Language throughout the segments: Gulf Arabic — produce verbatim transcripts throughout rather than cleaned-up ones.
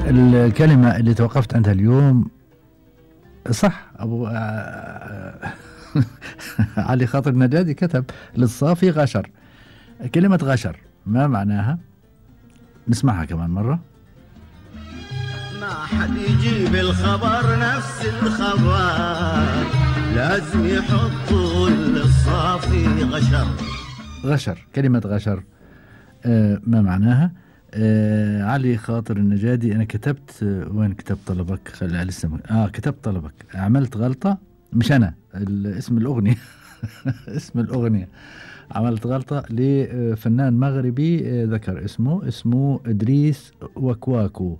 الكلمة اللي توقفت عندها اليوم صح أبو علي خاطر النجادي كتب للصافي غشر. كلمة غشر ما معناها؟ نسمعها كمان مرة. ما حد يجيب الخبر نفس الخبر، لازم يحطوا للصافي غشر. غشر، كلمة غشر آه ما معناها؟ آه علي خاطر النجادي أنا كتبت آه وين كتبت طلبك؟ خلي لسه آه كتبت طلبك، عملت غلطة مش أنا اسم الأغنية اسم الأغنية عملت غلطة لفنان مغربي ذكر اسمه اسمه إدريس وكواكو.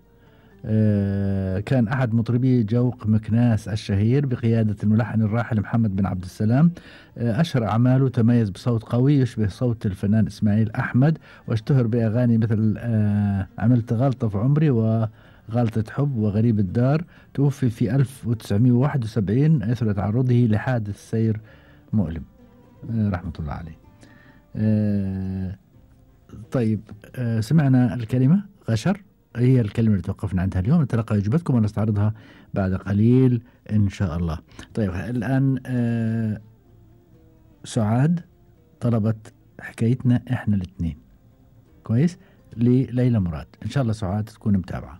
آه كان أحد مطربي جوق مكناس الشهير بقيادة الملحن الراحل محمد بن عبد السلام. آه أشهر أعماله تميز بصوت قوي يشبه صوت الفنان إسماعيل أحمد، واشتهر بأغاني مثل آه عملت غلطة في عمري وغلطة حب وغريب الدار. توفي في ألف وتسعمائة وواحد وسبعين أثر تعرضه لحادث سير مؤلم آه رحمة الله عليه. آه طيب آه سمعنا الكلمة غشر، هي الكلمة اللي توقفنا عندها اليوم. نتلقى إجابتكم ونستعرضها بعد قليل إن شاء الله. طيب الآن آه سعاد طلبت حكايتنا إحنا الاثنين كويس لليلى مراد. إن شاء الله سعاد تكون متابعة.